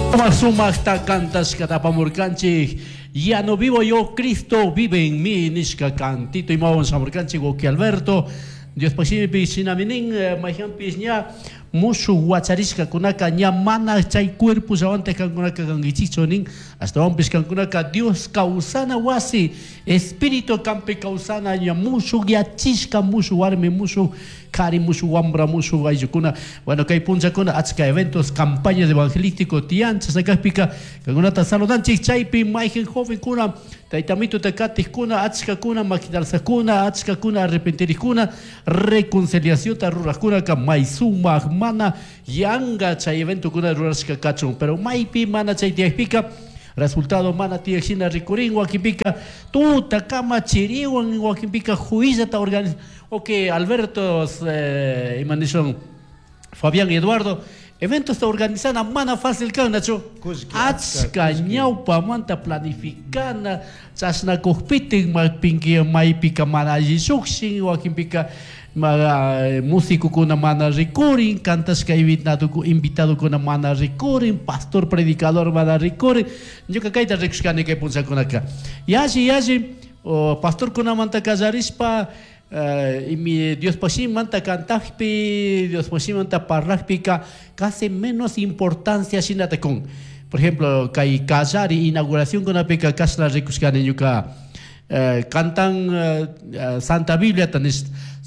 Sumak sumakta cantashkata apamurkanchik. "Ya no vivo yo, Cristo vive en mí" nishka cantito imawan shamurkanchik wawki Alberto. Diospaj shimipi shinami nin, mayhanpish ña mushuj huacharishcacunaca ña mana chay cuerpo llawanta cancunaca canguichichu nin, ashtahuanpish cancunaca Dios causana huasi, espíritu canpi causana ña mushuj yachishca, mushuj warmi, mushuj kari, mushuj wambra, mushuj ayllukuna. Bueno, kay punllakuna achka eventos, campañas evangelístico tiyan, chashna kajpika kankunata saludanchik. Chaypi mayhan jovenkuna, taytamituta katijkuna, achkakuna maquinalzakuna, achkakuna arrepentirikuna, reconciliacionta rurajkunaka may sumak, mana yanga chay eventokuna rurashka kachun. Pero maypi mana chay tiyakpika resultado mana tiyak shina rikurin. Wakinpika tuta kama chiriwan, wakinpika juillata organiz. Ok, Alberto, ima nishun, Fabián Eduardo, eventos organizana mana fácil kan, nachu? Kullki, achka achka kullki. Ñawpamanta planificana, chashna kukpitik maypinki maypika mana alli llukshin, wakinpika musicokuna mana rikurin, cantashka invitadokuna mana rikurin, pastor predicador mana rikurin. Ñuka kayta rikushkani kay punllakunaka. Yalli yalli pastorkunamanta kallarishpa, imi Diospaj shimimanta cantajpi, Diospaj shimimanta parlajpika casi menos importancia shinata kun. Por ejemplo, kay kallari inauguracionkunapika kashna rikushkani ñuka, cantan Santa Bibliata nish.